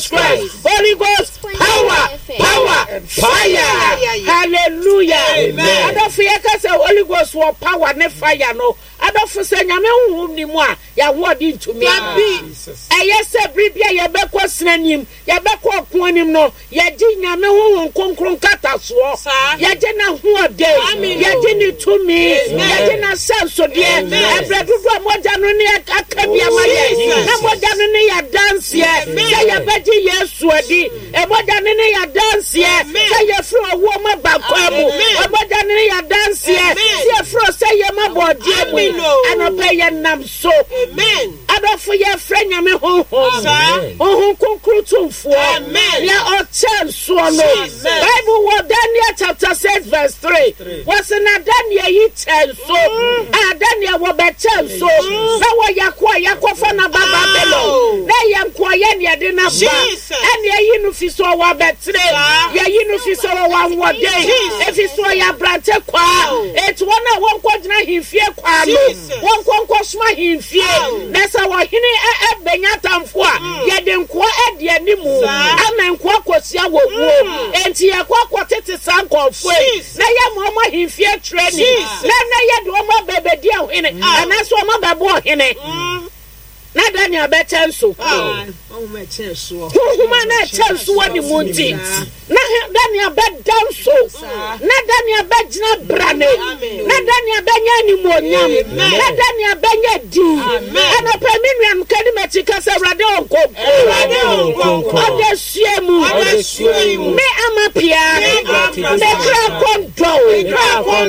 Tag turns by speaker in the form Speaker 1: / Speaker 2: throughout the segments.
Speaker 1: Jesus Christ. Holy Ghost power, power, fire. Hallelujah.
Speaker 2: Amen.
Speaker 1: Adɔfo yɛka sɛ Holy Ghost wɔ power ne fire no. Adɔfo sɛ Nyame honhom ni mu a, yɛahoɔden ntumi. Ɛyɛ sɛ bere bi a yɛbɛkɔ sena nim, yɛbɛkɔ ɔko anim no, yɛgye Nyame honhom kronkron nkatasoɔ, yɛgye n'ahoɔden, yɛgye ne tumi, yɛgye n'ahyɛnsodeɛ. Ɛberɛ dodoɔ a mogya no ne aka bi ama yɛn, na mogya no ne yɛ adanseɛ sɛ yɛbɛgye Yesu adi. Mogya no ne yɛ adanseɛ sɛ yɛfiri owuo mu aba nkwa mu. Mogya no ne yɛ adanseɛ sɛ yɛfiri ɔsɛeɛ mu aba ɔgyeɛ mu. Anɔpa yi yɛnam so. Adɔfo yɛfrɛ Nyame Honhom, Honhom Kronkron Tumfoɔ, nea ɔkyɛ nsoɔ no. Bible wɔ Daniel chapter 6 verse 3, wɔse na Daniel yi kyɛ nso, a Daniel wɔbɛkyɛ nso, na wɔyɛ akoa a yɛakɔfa no aba Babylon, na ɛyɛ nkoayɛ ne yɛde no aba, ɛne yɛyi no fi so ɔwɔ abɛtire, yɛyi no fi so ɔwɔ ahoɔden, efi so ɔyɛ aberante kwaa, enti wɔn a wɔnkɔgyina ahemfie kwaa no, Wɔnkɔ nkɔsom ahemfie, na sɛ ɔhene bɛnya atamfo a, yɛde nkoa adi animu ama nkoa kɔsia wɔ wuo. Enti yɛkɔ akɔtete saa nkurɔfoɔ yi, na yɛma wɔn ahemfie training, na na yɛde wɔn aba abɛdi ɔhene, anaasɛ wɔn abɛbɔ ɔhene. Na Daniel bɛkyɛ nso. Honhom a na ɛkyɛ nso wɔ ne mu nti, na Daniel bɛda nso. Na Daniel bɛgyina brane. Na Daniel bɛnya animuonyam. Na Daniel bɛnya din. Anɔpa me nuanom ka di m'akyi ka sɛ Awurade ɔnkonko. Ɔdasua mu. Me ama pia. Me kra kɔndɔ.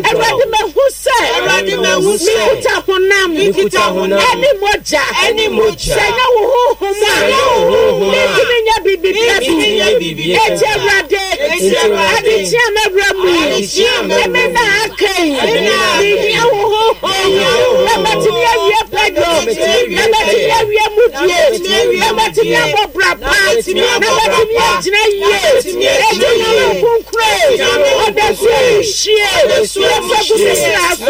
Speaker 1: Awurade mahu sɛ. Mekuta honam. Ɛne mogya. Sɛ ɛnyɛ wo honhom a, mentumi nyɛ biribi pa bi. Enti Awurade, adekye a mɛwura mu yi, ɛme nna a aka yi, mehia wo honhom na matumi awie pɛdwo, na matumi awie mudie, na matumi abɔ bra pa, na matumi agyina yie. Enti Nyame nkonkron, ɔdasuo mu hyie, yɛfa gu me kra so,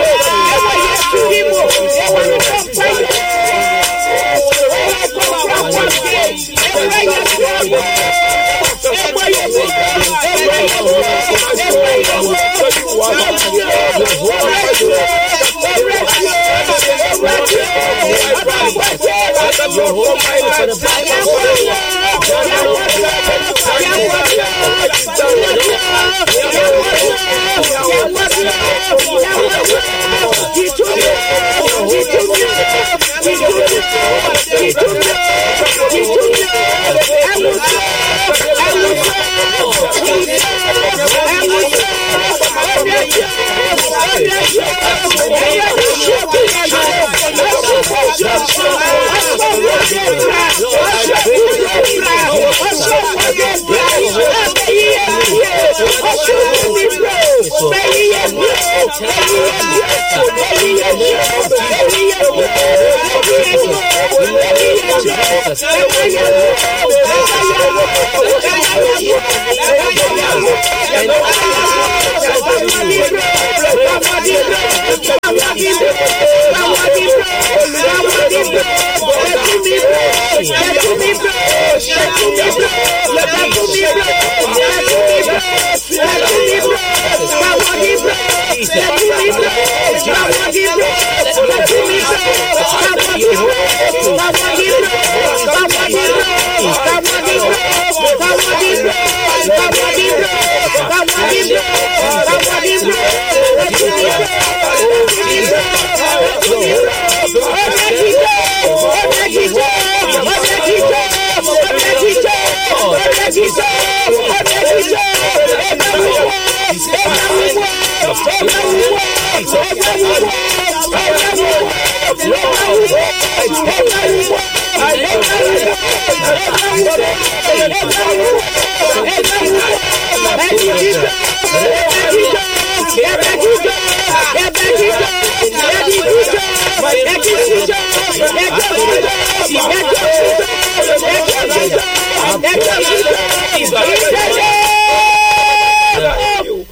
Speaker 1: ɛwɔ Yesu din mu, yɛwɔ no bɔ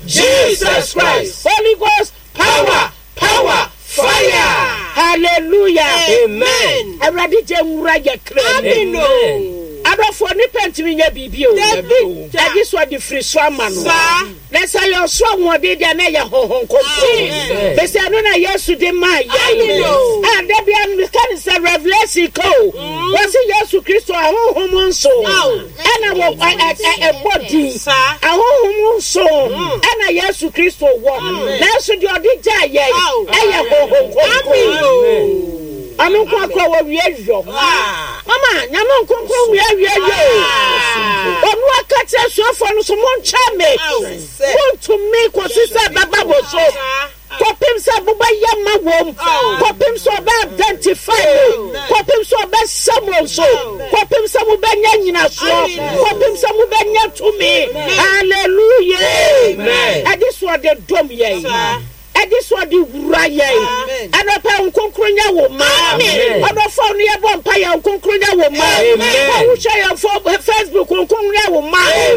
Speaker 2: Jesus Christ.
Speaker 1: Holy Ghost
Speaker 2: power, power, fire.
Speaker 1: Hallelujah.
Speaker 2: Amen.
Speaker 1: Awurade gye nwura yɛ kra mu.
Speaker 2: Amen.
Speaker 1: Adɔfoɔ, nnipa ntumi nyɛ biribi o. Agye sɛ ɔde firi soro ama no. Na sɛ ɛyɛ ɔsoro ahoɔden deɛ na ɛyɛ Honhom Kronkron. Mesɛ ɛno na Yesu de maa yɛn. A da bia meka ne sɛ Revelation ka o. Wɔse Yesu Kristo ahonhom nso ɛna wɔ ɛbɔ din. Ahonhom nso ɛna Yesu Kristo wɔ. Nanso deɛ ɔde gyaa yɛn ɛyɛ Honhom Kronkron. Ɔno nko akora wɔ wie yɔ. Mama, Nyame nkonkron wie wie yɔ o. Ɔno aka kyerɛ asuafoɔ no so monkyɛ me. Montumi kɔsi sɛ ɛbɛba mo so. Kɔpem sɛ mobɛyɛ ma wɔm. Kɔpem sɛ ɔbɛ identify mo. Kɔpem sɛ ɔbɛhyɛ mo nso. Kɔpem sɛ mobɛnya nyinasoɔ. Kɔpem sɛ mobɛnya tumi. Hallelujah. Ɛde so ɔde dom yɛn. Ɛgye sɛ ɔde wura yɛn. Anɔpa yi, Honhom Kronkron nyɛ wo ma. Ɔdɔfo a ɔne yɛn bɔ mpa yɛ, Honhom Kronkron nyɛ wo ma. Wo a wohwɛ yɛn fo Facebook, Honhom Kronkron nyɛ wo ma. Wo a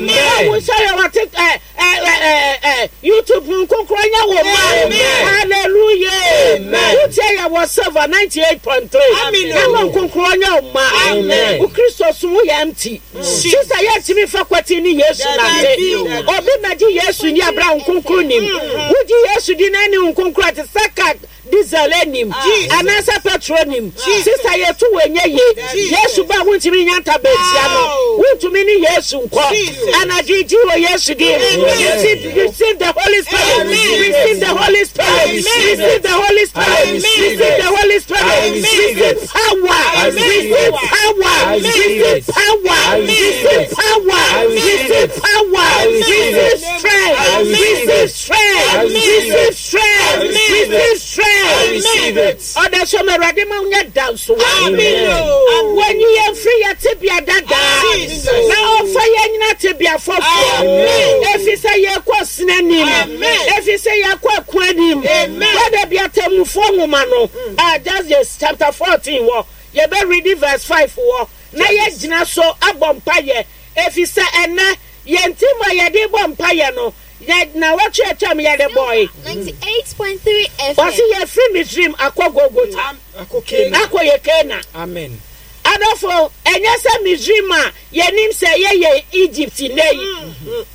Speaker 1: wohwɛ yɛn wɔ tik ɛ ɛ ɛ ɛ YouTube, Honhom Kronkron nyɛ wo ma. Hallelujah. Wotie yɛn wɔ Silver 98.3. Na Honhom Kronkron nyɛ wo ma. Wo Kristo som woyɛ empty. Sista yɛntumi mfa kwati ne Yesu nante. Obi mmɛgye Yesu nni abere a Honhom Kronkron nnim. Wogye Yesu di na ɛne Honhom Kronkron a te sɛ car diesel nnim anaasɛ petrol nnim. Sista yɛtu wo ɛnyɛ yie. Yesu ba a wontumi nya ntabantia no. Wontumi ne Yesu nkɔ. Anadwo yi gye wɔ Yesu din mu. Receive, receive the Holy Spirit. Receive the Holy Spirit. Receive the Holy Spirit. Receive the Holy Spirit. Receive power. Receive power. Receive power. Receive power. Receive power. Receive strength. Receive strength. Receive strength. Receive strength. Ɔda so ma Awurade ma wonya dansowa. Wɔnyi yɛn firi yɛn tebea dadaa na ɔmfa yɛn nyina tebea foforɔ. Ɛfiri sɛ yɛkɔ sena anim. Ɛfiri sɛ yɛkɔ ɛko anim. Brother bi atemmufoɔ nwoma no, ah, Judges chapter 14 wɔ, yɛbɛ read verse 5 wɔ, na yɛgyina so abɔ mpayɛ. Ɛfiri sɛ ɛnɛ, yɛn ti mu a yɛde bɔ mpayɛ no, Yɛ nnawɔtwe a atwam yɛde bɔe. Ɔse yɛfiri Misrim akɔ Golgota, akɔ yɛ Kana. Adɔfo, ɛnyɛ sɛ Misrim a yɛnim sɛ ɛyɛ yɛn Egypt nnɛ yi.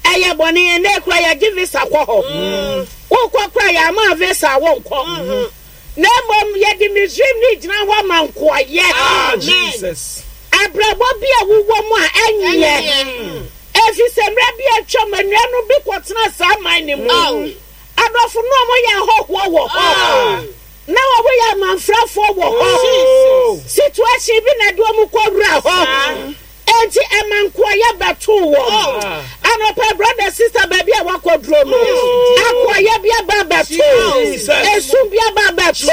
Speaker 1: Ɛyɛ bɔne, ɛnnɛ yi koraa yɛgye visa kɔ hɔ. Wokɔ koraa yɛama visa a wonkɔ. Na mmom yɛde Misrim no gyina hɔ ma nkoayɛ. Abrabɔ bi a wowɔ mu a ɛnyɛ. Efisɛ mmerɛ bi a atwam, anuanom bi kɔtenaa saa man no mu. Adɔfo, na wɔyɛ ahɔhoɔ wɔ hɔ. Na wɔyɛ amanfrafoɔ wɔ hɔ. Situation bi na ɛde wɔn kɔwuraa hɔ. Enti ɛma nkoayɛ bɛtoo wɔn. Anɔpa, brother, sister, baabi a woakɔduro no, akoayɛ bi aba abɛto. Esu bi aba abɛto.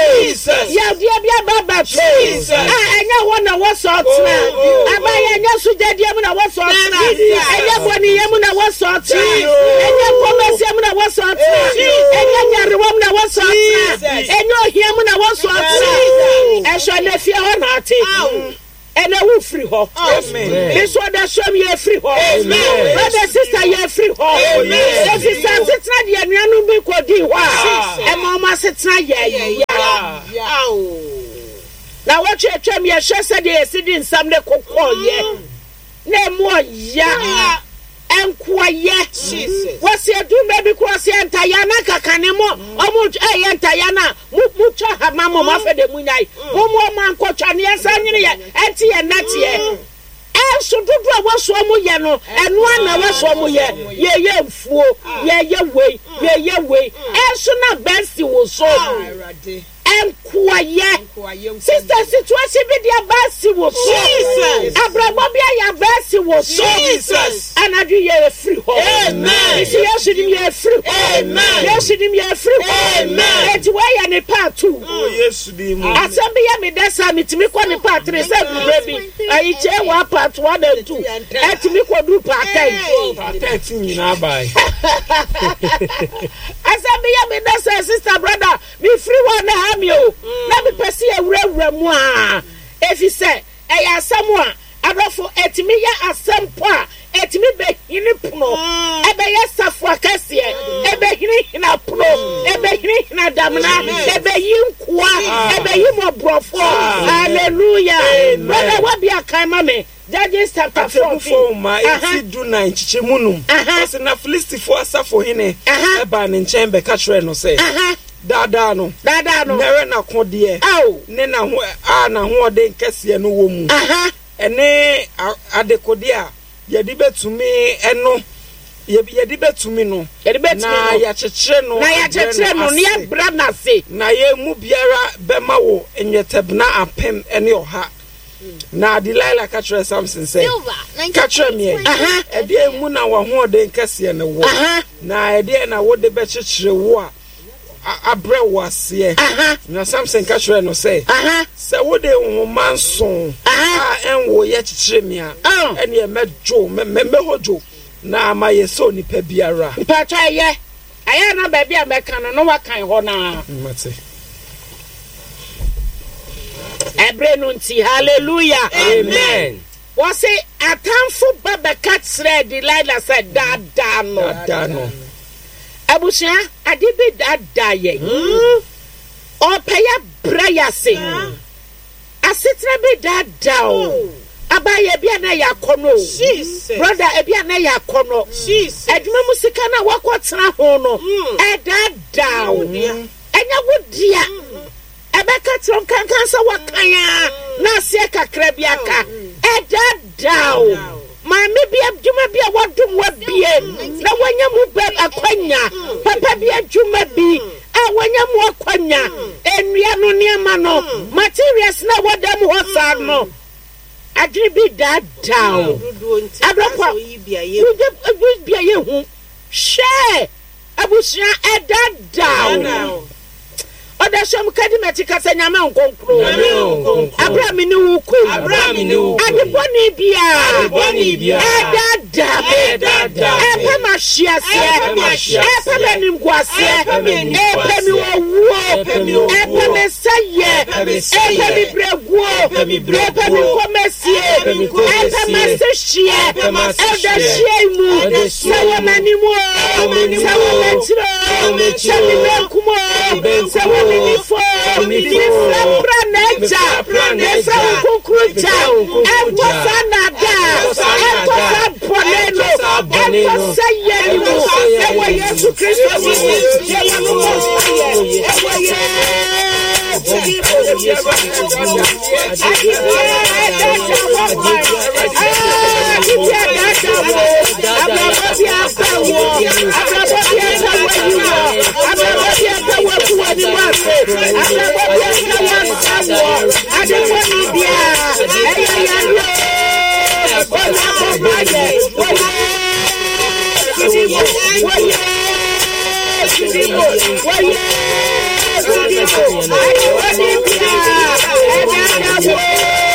Speaker 1: Yawdeɛ bi aba abɛto. A ɛnyɛ hɔ na wɔsɔ ɔtena. Abayɛ ɛnyɛ sogyadie mu na wɔsɔ ɔtena. Ɛnyɛ bɔneyɛ mu na wɔsɔ ɔtena. Ɛnyɛ kɔmɛseɛ mu na wɔsɔ ɔtena. Ɛnyɛ nyarewa mu na wɔsɔ ɔtena. Ɛnyɛ ohia mu na wɔsɔ ɔtena. Ɛsɔ na fie hɔ na ate. Ɛnɛ wo firi hɔ. Me nso ɔdasuam yɛ firi hɔ. Brother sister yɛ firi hɔ. Efisɛ asetena deɛ anuanom bi kɔdii hɔ a ɛma wɔn asetena yɛ ya. Na wɔtwe atwam yɛhwɛ sɛdeɛ yɛsi de nsɛm ne kokɔɔyɛ na emu ɔya. Nkoayɛ. Wɔsi edu mmerɛ bi koraa ɔsi ntayaa na nkakane mo ɔmo ɛyɛ ntayaa na mo mo twa hama mo mo afɛ de mo nyae mo mo ɔmo ankɔtwa ne yɛn nsa nwene yɛ ɛnti yɛ nnɛteɛ ɛnso dodo a wɔso ɔmo yɛ no ɛnoa na wɔso ɔmo yɛ yɛyɛ mfuo yɛyɛ wei yɛyɛ wei ɛnso na bɛnsi wo so. Nkoayɛ. Sister situation bi de aba asi wo so. Abrabɔ bi ayɛ aba asi wo so. Anadwo yɛ efiri hɔ. Nti Yesu nim yɛ efiri hɔ. Yesu nim yɛ efiri hɔ. Eti wɔyɛ ne part 2. Asɛm bi yɛ me dɛ saa metumi kɔ ne part 3 sɛ dubere bi. Ayi kyɛ wɔ part 1 and 2. Ɛtumi kɔ du part 10.
Speaker 2: Part 13 nyinaa bae.
Speaker 1: Asɛm bi yɛ me dɛ sɛ sister brother. Mefiri hɔ a na ɛha me o, na mepɛ sɛ yɛwurawura mu ara, efisɛ ɛyɛ asɛm a, adɔfo, ɛtumi yɛ asɛm mpo a ɛtumi bɛhini pono, ɛbɛyɛ safo akɛseɛ, ɛbɛhinihina pono, ɛbɛhinihina damena, ɛbɛyi nkoa, ɛbɛyi mmɔborɔfoɔ. Hallelujah! Brother, wabia kan ma me. Judges chapter 14.
Speaker 2: Atemmufoɔ nwoma eti dunan nkyekyɛmu num. Ɔse na Filistifoɔ asafohene baa ne nkyɛn bɛka kyerɛɛ no sɛ, Daadaa no,
Speaker 1: Daadaa no.
Speaker 2: na ɛrɛ n'akodeɛ ne n'aho a n'ahoɔden kɛseɛ no wɔ mu, ɛne adekodeɛ a yɛde bɛtumi ɛno yɛde bɛtumi no, na yɛakyekyere no
Speaker 1: na yɛakyekyere no na yɛabrɛ no ase.
Speaker 2: Na yɛn mu biara bɛma wo nnwetɛbena 1100. Na Delilah ka kyerɛɛ Samson sɛ, Ka kyerɛ me ɛ, ɛdeɛn mu na w'ahoɔden kɛseɛ no wɔ, na ɛdeɛn na wode bɛkyekyere wo a abrɛ wo aseɛ? Na Samson ka kyerɛɛ no sɛ, Sɛ wode nhoma nson a ɛnwoeɛ kyekyere me a, ɛnneɛ mɛdwo, mɛhodwo, na mayɛ sɛ onipa biara.
Speaker 1: Mpakyɛ ɛyɛ, ɛyɛ na baabi a mɛka no na wakan hɔ no ara.
Speaker 2: Mate.
Speaker 1: Ɛberɛ no nti, hallelujah.
Speaker 3: Amen.
Speaker 1: Wɔse atamfo ba bɛka kyerɛɛ Delilah sɛ daadaa no.
Speaker 2: Daadaa no.
Speaker 1: Abusua, ade bi daadaa yɛn. Ɔpɛ yɛ brɛ yɛ ase. Asetena bi daadaa o. Abaayɛ ebi a na ɛyɛ akɔnɔ o. Brother, ebi a na ɛyɛ akɔnɔ. Adwuma mu sika no a wakɔtena ho no, ɛdaadaa o. Ɛnyɛ wo dea. Ɛbɛka kyerɛ wo nkankan sɛ wakan a na aseɛ kakra bi aka. Ɛdaadaa o. Maame bi adwuma bi a wadom wabie na wanya mu bɛ akwanya. Papa bi adwuma bi a wanya mu akwanya. Nnua no nneɛma no, materials no a ɛwɔ dan mu hɔ saa no, adwene bi daadaa o. Adɔfo, wogye bi a yɛhu. Hwɛ! Abusua ɛdadaw. Ɔdasum kadi m'akyi ka sɛ Nyame nkonkron. Abere a me ne wo kɔ yi. Ade bɔne biara ɛdaadaa me. Ɛpɛ m'ahweaseɛ. Ɛpɛ m'animguaseɛ. Ɛpɛ me owuo. Ɛpɛ me sɛeɛ. Ɛpɛ me brɛguo. Ɛpɛ me nkɔmɛsie. Ɛpɛ m'asehyeɛ. Ɛdahyeɛ mu. Sɛ wɔ m'anim o, sɛ wɔ m'akyiri o, sɛ me benkum o, sɛ wɔ me nifa o, mefrɛ pra n'agya, mefrɛ wo kronkron gya, ɛnkɔ saa naadaa, ɛnkɔ saa bɔne no, ɛnkɔ sɛ yɛ ne mu, ɛwɔ Yesu Kristo din mu, yɛwɔ no bɔ mpaeɛ, ɛwɔ Yesu din mu. Ade biara ɛdaadaa wɔ kwan, ade biara ɛdaadaa wɔ. Abrabɔ bi apɛ wɔ, abrabɔ bi apɛ wɔ yi wɔ, abrabɔ bi apɛ wɔ gu wɔ ne mu ase, abrabɔ bi apɛ wɔ nsa wɔ, ade bɔne biara ɛyɛ yareɛ o, ɔna bɔ mpaeɛ wɔ Yesu din mu, wɔ Yesu din mu, wɔ Yesu din mu, ade bɔne biara ɛdada wɔ.